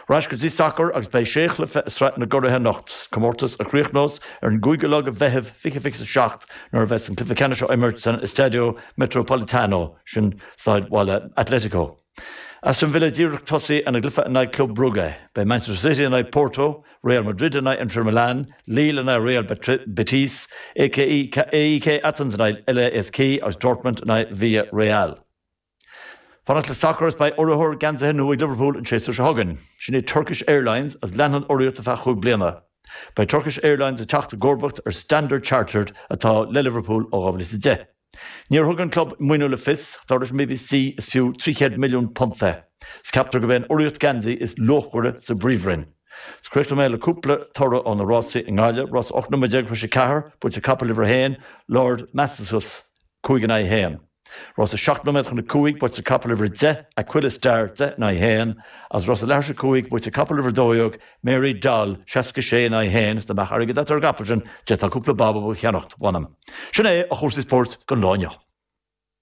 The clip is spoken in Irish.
Ar ais go dtí sacar agus beidh sé chluiche i Sraith na gCuraithe anocht, comórtas a chríochnós ar an gcúigiú lá de Mheitheamh 2027 nuair a bheas an cluiche ceannais á imirt san Estadio Metropolitano, sin staid bhaile Atletico. Aston Villa díreach tosaí ina gcluiche in aghaidh Club Brugge. Beidh Manchester City in aghaidh Porto, Real Madrid in aghaidh Inter Milan, Lille in aghaidh Real Betis, AEK Athens in aghaidh LASK agus Dortmund in aghaidh Villarreal. Fanacht le sacar is beidh urraitheoir geansaithe nua ag Liverpool an séasúr seo chugainn. Sin é Turkish Airlines agus leanfaidh an urraíocht ar feadh chúig bliana. Beidh Turkish Airlines ag teacht i gcomharbacht ar Standard Chartered atá le Liverpool ó 2010. Níor thug an club maoiniú le fios, dar leis an bbc is fiú £300 milliún é. Is ceaptar gurb é an urraíocht geansaí is luachmhaire sa bPríomhroinn. Is críochnóidh mé le cúpla toradh ó na rásaí i nGaillimh, rás 18 nóiméad tar éis 4, buaite capall uimhir 1, Lord Massasus, 5 in aghaidh 1. Rás 7 nóiméad chun 5, buaite capall uimhir 10, Aquila Star, 10 in aghaidh 1, agus rás leathuair tar éis 5, buaite capall uimhir 12, Mary Doll, 66 in aghaidh 1, is dá mbeadh airgead agat ar an gcapall sin, d'fhéadfá cúpla babab a cheannacht, mh'anam. Sin é a chúrsaí spóirt don lá inniu.